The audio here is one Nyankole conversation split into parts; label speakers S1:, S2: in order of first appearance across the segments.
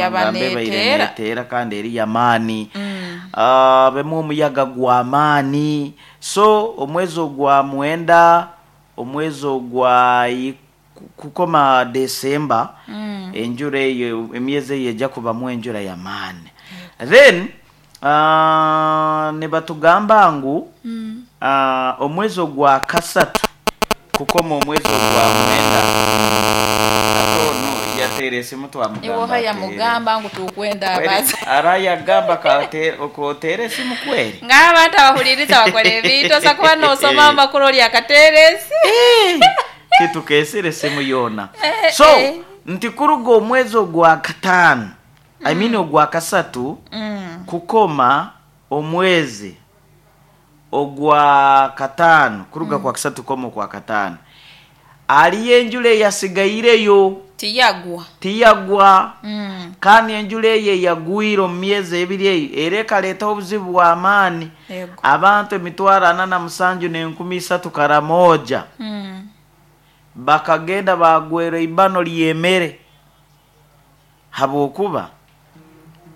S1: Yaba
S2: Nangamba ebaire
S1: neteera.
S2: neteera kandi eri y'amaani. Habemu omuyaga gw'amaani. So omwezi ogwa mwenda, omwezi ogwa kukoma December, enjura eyo emyezi eyo eja kubamu enjura y'amaani. Then nibatugamba ngu omwezi ogwa kasatu kukoma omwezi ogwa mwenda, hati onu yateera esimu
S1: Iwe
S2: twamugamba
S1: oha
S2: ateere.
S1: yamugamba ngu tukwenda
S2: Kweri
S1: abaza.
S2: arayagamba k'oteera esimu kweri?
S1: Ngaha abantu abahuririza bakora ebintu osa kuba nosoma amakuru ori akateera esimu.
S2: Titukeesire esimu yoona. So nti kuruga omwezi ogwa kataano, I mean ogwa kasatu kukoma omwezi ogwa kataano, kuruga kwa kasatu kukoma okwa kataano, hariyo enjura eyasigaireyo.
S1: Tiyagwa.
S2: Tiyagwa. Kandi enjura eyo eyagwire omu myezi ebiri eyo era ekareetaho obuzibu bw'amaani. Abantu emitwaro ana na musanju n'enkumi isatu Karamoja bakagenda baagwerwa eibano ry'emere habwokuba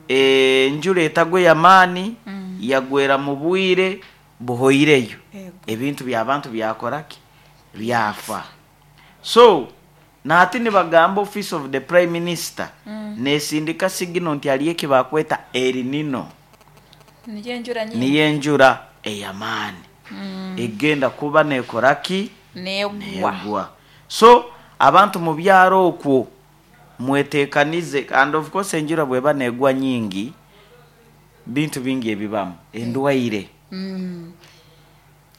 S2: enjura etagwa ey'amaani yagwera mu bwire buhoireyo. Ebintu by'abantu byakora ki? Byafa. So nahati nibagamba office of the prime minister nesindika signal nti hariyo eki bakweta El Nino.
S1: Niyo enjura nyingi.
S2: Niyo enjura ey'amaani egenda kuba nekora ki?
S1: Negwa.
S2: Negwa. So abantu mu byaro okwo mwetekanize and of course enjura bweba negwa nyingi bintu bingi ebibamu endwaire.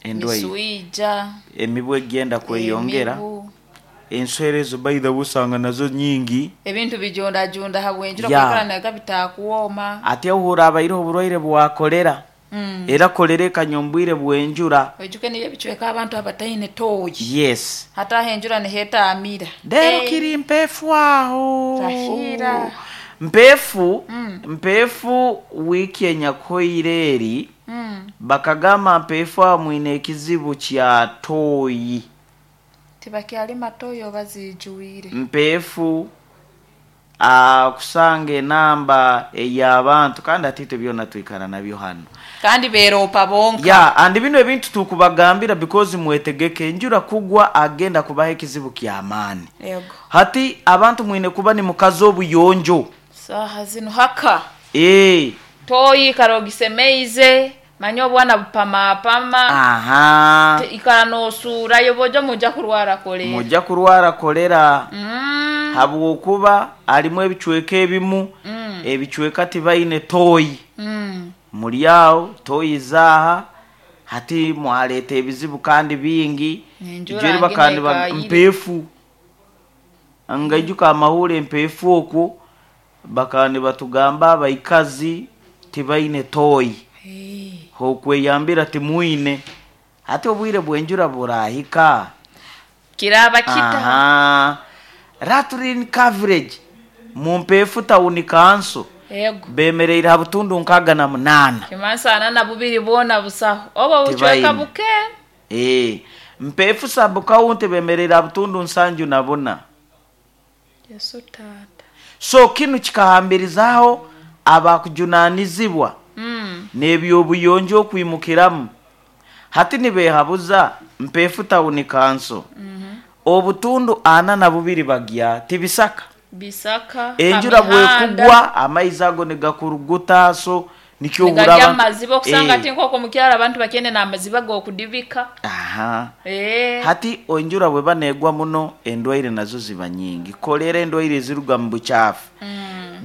S2: Endwaire.
S1: Miswija.
S2: Emibu egenda kweyongera.
S1: Emibu.
S2: Enswera ezo by the way osanga nazo nyingi.
S1: Ebintu bijundajunda habw'enjura kwikara naga bitakwoma.
S2: Ati ahu horabaireho oburwaire bwa kolera. Era kolera ekanya omu bwire bw'enjura.
S1: Oijuke niyo ebicweka abantu abataine tooyi.
S2: Yes.
S1: Hati aho enjura niho etaamira.
S2: Reero kiri mpeefu aho.
S1: Rahira.
S2: Mpeefu, mpeefu wiiki enyakuhoire eri, bakagamba mpeefu aho mwine ekizibu kya tooyi.
S1: Tibakyalima tooyi oba ziijwire.
S2: Mpeefu kusanga enamba ey'abantu kandi hati itwe byona twikara nabyo hanu.
S1: Kandi beeroopa bonka.
S2: Yeah, and binu ebintu tukubagambira because mwetegeke enjura kugwa agenda kubaho ekizibu ky'amaani.
S1: Yego.
S2: Hati abantu mwine kuba nimukaza obuyonjo.
S1: Saaha zinu haka.
S2: Eeh.
S1: Tooyi ikara ogisemeize, manya obwana bupamapama.
S2: Aha.
S1: Ikara noosuurayo bojo mujja kurwara kolera.
S2: Mujja kurwara kolera. Habwokuba harimu ebicweka ebimu, ebicweka tibaine tooyi. Muri aho tooyi zaaha, hati mwareeta ebizibu kandi bingi.
S1: Enjura
S2: Ijo eri bakaba
S1: nginu
S2: niba
S1: ekaayire.
S2: mpeefu. Ngaijuka amahuura empeefu okwo bakaba nibatugamba abaikazi tibaine tooyi. H'okweyambira timwine. Hati obwire bw'enjura burahika.
S1: Kiraba kita.
S2: Aha. Latrine coverage mu Mpeefu Town Council
S1: Yego.
S2: bemereire ha butundu nkaaga na munaana.
S1: Kimansa ana na bubiri bwona busaho. Obo bucweka
S2: Tibaine.
S1: buke.
S2: Eeh. Mpeefu Sub County bemereire ha butundu nsanju na buna.
S1: Yesu taata.
S2: So kinu kikahambirizaho abakujunanizibwa n'eby'obuyonjo okwimukiramu. Hati nibeehabuza Mpeefu Town Council obutundu ana na bubiri bagya ti bisaka.
S1: Bisaka.
S2: Enjura
S1: Hamihanda.
S2: bwekugwa amaizi ago nigakuruguta so nikyo ohurra
S1: Nigarya
S2: abantu
S1: amaziba okusanga ati nk'okwo omu kyaro abantu bakyene n'amaziba g'okudibika.
S2: Aha.
S1: Eeh.
S2: Hati enjura bweba negwa muno endwaire nazo ziba nyingi. Kolera endwaire eziruga mu bukyafu.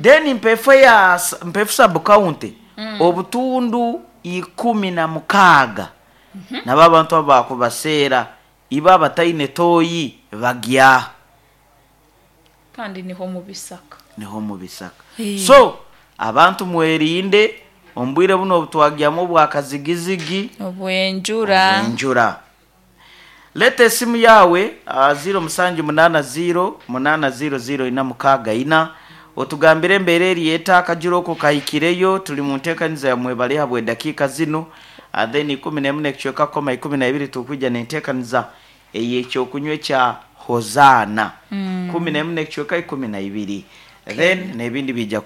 S2: Then Mpeefu eya Mpeefu Sub County obutundu 16 nabo abantu abu bakubaseera ibo abataine tooyi bagya.
S1: Kandi niho mu bisaka.
S2: Niho mu bisaka. So abantu mwerinde omu bwire bunu obu twagyamu obwa kazigizigi.
S1: Obw'enjura.
S2: Obw'enjura. Leeta esimu yaawe aha 0780 800 464 otugambire embeera eri eta akajura oko kahikireyo turi mu nteekaniza ya mwebale habw'edakiika zinu then 11 n'ekicweka kukoma 12 tukwija n'enteekaniza ey'ekyokunywa ekya Hozaana 11 n'ekicweka 12 then n'ebindi biija.